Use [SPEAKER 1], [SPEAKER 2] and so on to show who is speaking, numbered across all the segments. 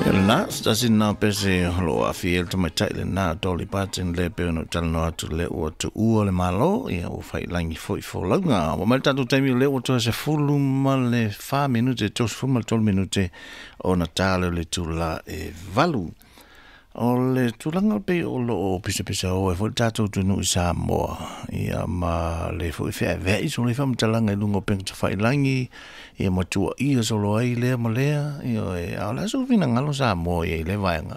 [SPEAKER 1] Ia lena, se tasi lena o pese o lo o aafia ai le tamaitai lena o Dolly Parton lea pei ona ou talanoa atu lea ua tuua le Malo, ia ua faiilagi foi folauga. Ua mai le tatou taimi o lea ua toe 14 minute, 33 minute ona ta lea o le itula e 8. O le tulaga pei o lo o pisapisao ai foi le tatou atunuu i Samoa, ia ma le foi feaveai solo ai faamatalaga i luga o upega tafailagi, ia ma tuuaia solo ai lea ma lea, ioe, a o le a sou finagalo Samoa i ai i lea vaega?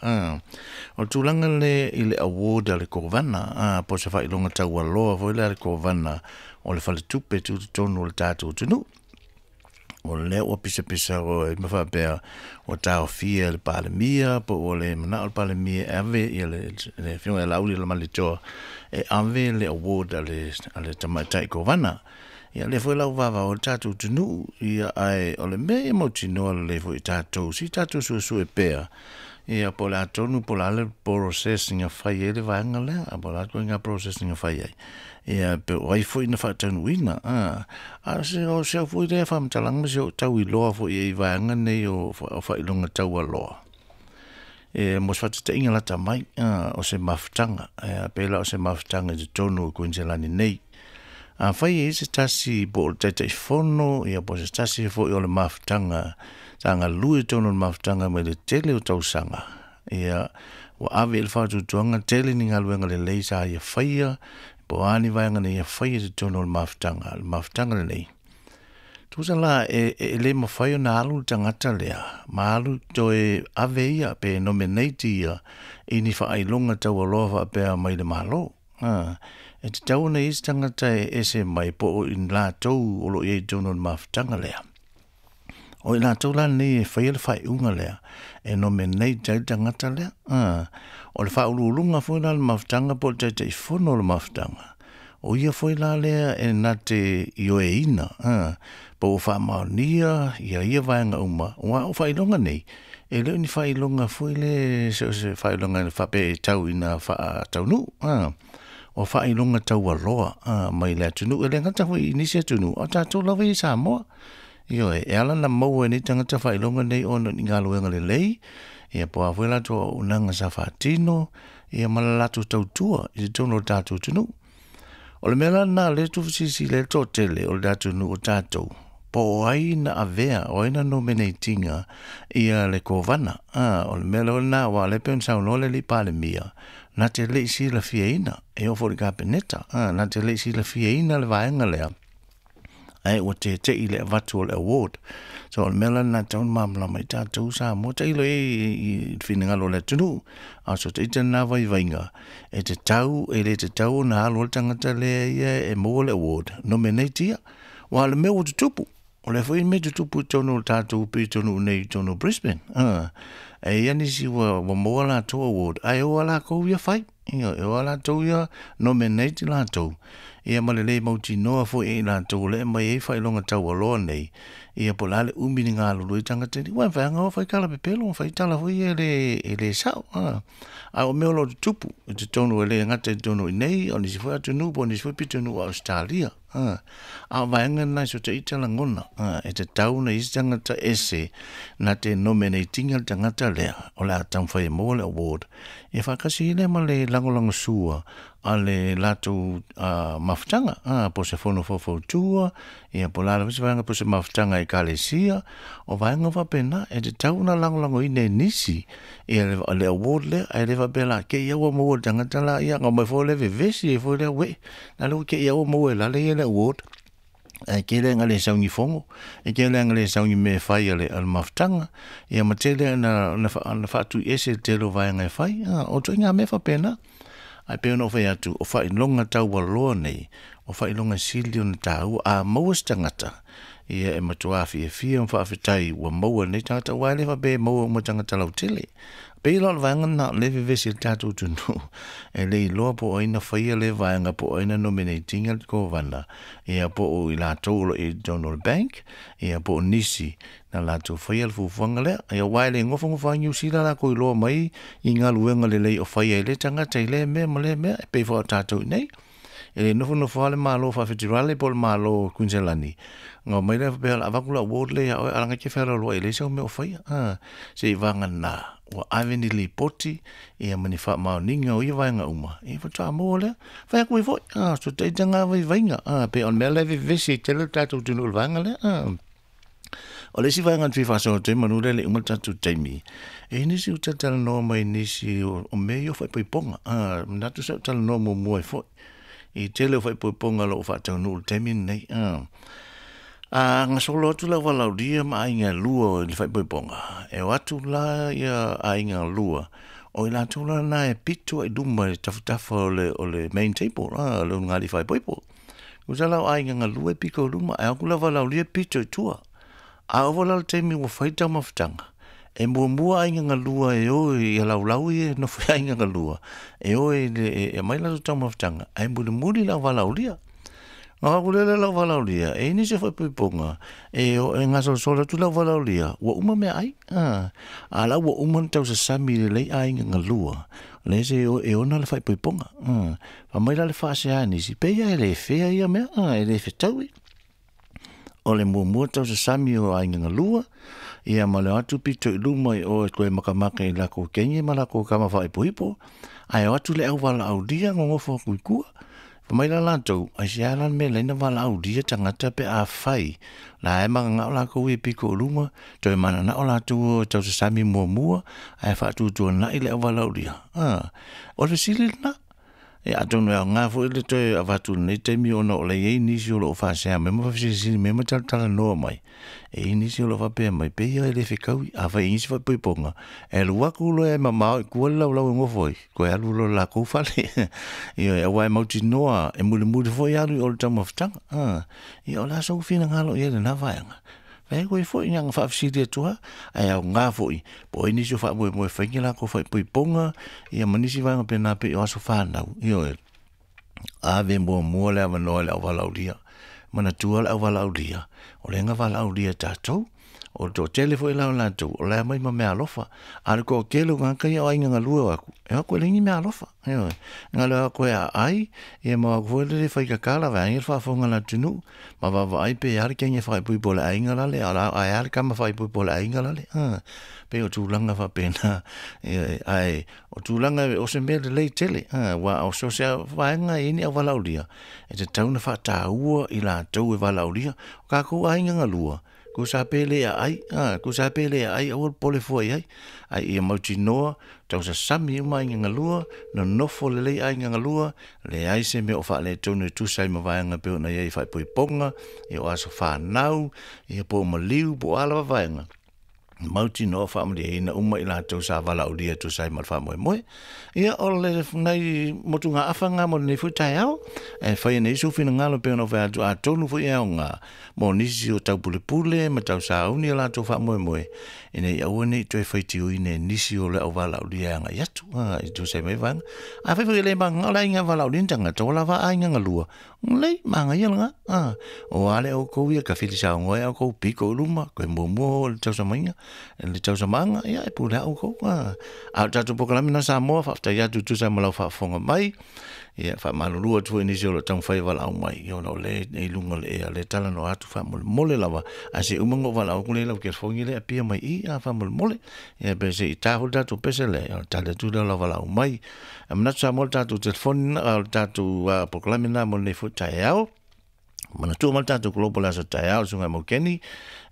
[SPEAKER 1] O le tulaga lea i le award a le Kovana, po o se faailoga taualoa foi lea a le Kovana o le Faletupe Tutotonu o le tatou atunuu. O lea ua pisapisao ai ma faapea ua taofia e le Palemia po ua le manao le Palemia e ave ia le Afioga ia Laauli Lamalietoa e ave le award a le tamaitai Kovana. Ia lea foi la ua vavao ai le tatou atunuu, ia ae o le mea ia mautinoa lelei foi i tatou, se i tatou suesue pea, ia po o le a tonu po o le a le process na fai ai le vaega lea, po o le a le ituaiga process na fai ai. Ia pe o ai foi na faataunuuina. A o se o se au foi lea faamatalaga ma si ou tau iloa foi i vaega nei o faailoga taualoa. E mo se faataitaiga lata mai, o se mafutaga, pei la o se mafutaga i totonu o Kuiniselani nei. Afai e i ai se tasi po o le Taitaifono, ia po o se tasi foi o le mafutaga sa galue i totonu o le mafutaga mai le tele o tausaga, ia, ua ave i ai le faatuatuaga tele ni galuega lelei sa ia faia, po o a ni vaega na ia faia i totonu o le mafutaga, le mafutaga lenei. Tusa la, e, e le mafai ona alu le tagata lea, ma alu toe ave ia, pe nominate ia, i ni faailoga taualoa faapea mai le Malo. A, e tatau ona i ai se tagata e ese mai po o i latou o lo o i ai i totonu o le mafutaga lea. O i latou la nei e faia le faaiuga lea, e nominate ai le tagata lea. A, o le faauluuluga foi la o le mafutaga po o le Taitaifono o le mafutaga, o ia foi la lea e na te ioeina, a, po ua faamaonia ia ia vaega uma, aua o faailoga nei, e le o ni faailoga foi le se o se faailoga faapea e tau ina faataunuu, a, o faailoga taualoa, a, mai le atunuu, e le gata foi i nisi atunuu, a o tatou lava ia i Samoa. Ioe, e ala ona maua e nei tagata faailoga nei ona o ni galuega lelei, ia po o a foi latou auaunaga sa faatino, ia ma le latou tautua i totonu o le tatou atunuu. O le mea la lena o lea e tuufesilisili ai le toatele o le atunuu o tatou, po o ai na avea, o ai na nominate ina ia le Kovana. A, o le mea lava lena, aua o lea e pei ona saunoa le alii Palemia, na te le i silafiaina, e oo foi i le Kapeneta, a, na te le i silafiaina le vaega lea, ae ua tete'i i le avatu o le award. So o le mea la lena e tatau ona malamalama ai tatou Samoa, tailo i ai i le finagalo o le atunuu, a o so ita lena vaivaiga, e tatau, e le tatau ona alu ai le tagata lea ia e maua le award, nominate ia. Aua o le mea ua tutupu, o lea foi mea tutupu i totonu o le tatou pitonuu nei i totonu o Brisbane. E i ai nisi ua maua latou award, ae o a latou ia fai. Ia, e o a latou ia nominate latou, ia ma le le mautinoa foi e i latou o lea e aumai ai faailoga taualoa nei, ia po o le a le umi ni galulue ai tagata nei. Ua mafai lava ona o fai tala pepelo, fai tala foi ia e le sao. A o mea o lo o tutupu i totonu e le gata i totonu i nei, o nisi foi atunuu po o nisi foi pitonuu o Ausetalia. A o vaega na i so te ita lagona, e tatau ona i ai se tagata ese na te nominate ina le tagata lea o le a taumafai e maua le award, ia faatasi ai lea ma le lagolagosua a le latou mafutaga, po o se fono faufautua, ia po o le a lava se vaega, po o se mafutaga a Ekalesia, o vaega faapena, e tatau ona lagolagoina e nisi ia le award lea, ae le faapea la te i lava ua maua e le tagata la, ia ona omai foi lea vevesi ai foi lea, uē, la le ua te i lava ua maua e lale ia le award. Ae tele ina le sau ni fono, e tele ina le sau ni mea e fai a le mafutaga, ia ma tele ina faatuiese le tele o vaega e fai, o ituaiga mea faapena. Ae pei ona ou fai atu, o faailoga taualoa nei, o faailoga sili ona taua. A maua se tagata, ia e matua fiafia ma faafetai ua maua e lenei tagata, aua e le faapea e maua uma e tagata lautele. Pei la o le vaega lena o lea e vevesi ai le tatou atunuu, e le iloa po o ai na faia lea vaega, po o ai na nominate ina le Kovana, ia po o i latou o lo o i ai i totonu o le bank, ia po o nisi na latou faia le fuafuaga lea. Ia aua e le nofonofo lava Niu Sila latou iloa mai i galuega lelei o faia e lea tagata i lea mea ma lea mea, e pei foi o tatou i inei. E le nofonofo lava le Malo Faafeterale po o le Malo o Kuiniselani, ona omai lea faapea o le a avatu le award lea ia oe ae leaga e te fealoaloai e leai sau mea o faia. Se i vagana ua ave ni lipoti ia ma ni faamaoniga o ia vaega uma, ia faatoa maua lea. Fai atu ai foi, so taitaga vaivaiga, pei o le mea lea e vevesi ai tele le tatou atunuu i le vaega lea. O le isi vaega na fia faasoa atu ai manu lea e le i uma le tatou taimi, e i ai nisi ua talatalanoa mai i nisi o mea ia o faaipoipoga. Manatu sa ou talanoa muamua ai foi i le tele o faaipoipoga o lo o faataunuu i le taimi lenei. A gasolo atu le auvalaaulia ma aiga e lua i le faaipoipoga, e o atu la aiga e lua, o i latou la na e pito lava i luma i tafatafa o le main table, le ulugalii faaipoipo. Tusa la o aiga galue e pito i luma, ae o atu le auvalaaulia pito i tua. A oo foi la i le taimi ua fai le taumafataga, e muamua aiga galua e o i laulau ia e nofo ai aiga galua, e o e aumai latou taumafataga, ae mulimuli le auvalaaulia. Ona o atu lea o le auvalaaulia, e i ai nisi o faaipoipoga, e gasolosolo atu le auvalaaulia, ua uma meaai, a o la ua uma ona tausasami lelei aiga galua, lea se e ona le faaipoipoga. Fai mai la le faasea a nisi, pei lava e le fair ia mea, e le fetaui. O le muamua tausasami o aiga galua, ia ma le o atu pito i luma i o e toe makamaka i lakou teine ma lakou tama faaipoipo, ae o atu le auvalaaulia nonofo atu i tua. Fai mai la latou, aisea la le mea e ala ai ona valaaulia tagata pe afai la e mananao latou ia e pito i luma, toe mananao latou e tausasami muamua ae faatuatuanai le auvalaaulia. O le fesili lena. Ia atonu e aoga foi le toe avatu i lenei taimi ona o la e i ai nisi o lo o faasea mai ma faafesilisili mai ma talatalanoa mai, e i ai nisi o lo o faapea mai, pei lava e le fetaui. Afai e i ai nisi faaipoipoga, e alu atu loa e mamao i tua le laulau e nofo ai, toe alu loa i le latou fale. Ioe, aua e mautinoa e mulimuli foi alu i o i le taumafataga. Ia o le a sou finagalo i ai i lena vaega? Fai atu ai foi, na ona faafesili atu lava, ae aoga foi po o ai nisi o faamoemoe e fai ni latou faaipoipoga, ia ma nisi vaega faapena pei o aso fanau. Ioe, ave muamua le avanoa i le auvalaaulia. Manatua le auvalaaulia, o lea na valaaulia e tatou. O le toatele foi la o latou, o la e aumai ma meaalofa. A o le toatele o tagata ia o aiga galue o atu, e o atu e leai ni meaalofa. Ioe, na o le o atu e aai, ia ma o atu foi lele e fai tatala vaeane le faafofoga a le atunuu, ma vaavaai pe a le teine faaipoipo a le aiga lale, ae a le tama faaipoipo a le aiga lale. Pei o tulaga faapena, ioe, ae o tulaga o se mea lelei tele, aua o so o se vaega e i ai ni auvalaaulia, e tatau ona faataua i latou e valaaulia. O tatou aiga galua, tusa pe le aai, tusa pe le aai, aua le popole fua i ai, ae ia mautinoa, tausasami uma aiga galua, nonofo lelei aiga galua, leai se mea o faaletonu e tusa ai ma vaega e pei ona i ai i faaipoipoga, ia o aso fanau, ia po o maliu, po o a lava vaega, mautinoa faamalieina uma i latou sa valaaulia e tusa ai ma le faamoemoe. Ia, o le nai motugaafa lena mo lenei foi taeao, e fai nei sou finagalo pei ona ou fai atu, atonu foi e aoga mo nisi o taupulepule ma tausauni o latou faamoemoe, ina ia aua ne i toe faitioina e nisi o le auvalaaulia e agai atu, i tusa ai ma ia vaega. Afai foi e le mananao le aiga valaaulia ni tagata, ua lava aiga galua, lelei, manaia lena. O a le outou ia tafilisaogoa ai outou pito i luma, toe muamua oo i le tausamaiga, le tausamaaga, ia e pule lava outou. A o le tatou polokalame lena Samoa, faafetai atu e tusa ai ma lau faafofoga mai. Ia, faamalulu atu foi i nisi o lo o taumafai e valaau mai, ia ona o lea e i luga o le ea, o lea e talanoa atu faamolemole lava, ae se i uma ona ou valaau atu lea i lau telefoni lea e apia mai i i, a faamolemole. Ia pe se i ta foi le tatou pese lea, ia ona tali atu lea o lau valaau mai. Ae manatu Samoa o le tatou telefoni lena, o le tatou polokalame lena mo lenei foi taeao. Manatua mai le tatou Global Aso Taeao, le Susuga ia Maukeni,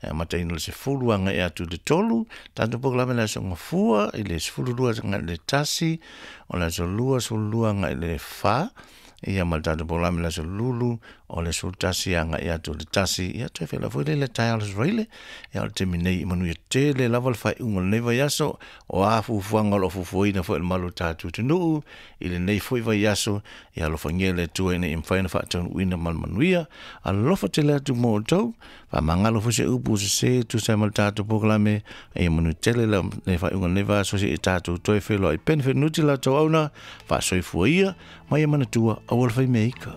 [SPEAKER 1] e amataina i le 10 agai atu i le 3, tatou polokalame le Aso Gafua i le 12 agai i le 1, o le Aso Lua 12 agai i le 4, ia ma le tatou polokalame le Aso Lulu o le 11 agai atu i le 1, ia toe feiloai foi lea i le taeao le Aso Faraile, ia o le taimi nei, manuia tele lava le faaiuga o lenei vaiaso, o a fuafuaga o lo o fuafuaina foi e le malu o le tatou atunuu i lenei foi vaiaso, ia alofagia e le Atua ina ia mafai ona faataunuuina ma le manuia. Alofa tele atu mo outou, faamagalo foi se upu ua sese e tusa ai ma le tatou polokalame, a ia manuia tele le faaiuga o lenei vaiaso seia tatou toe feiloai. Benefit Nuti la outou auna, faasoifua ia, ma ia manatua, aua le fai mea ika.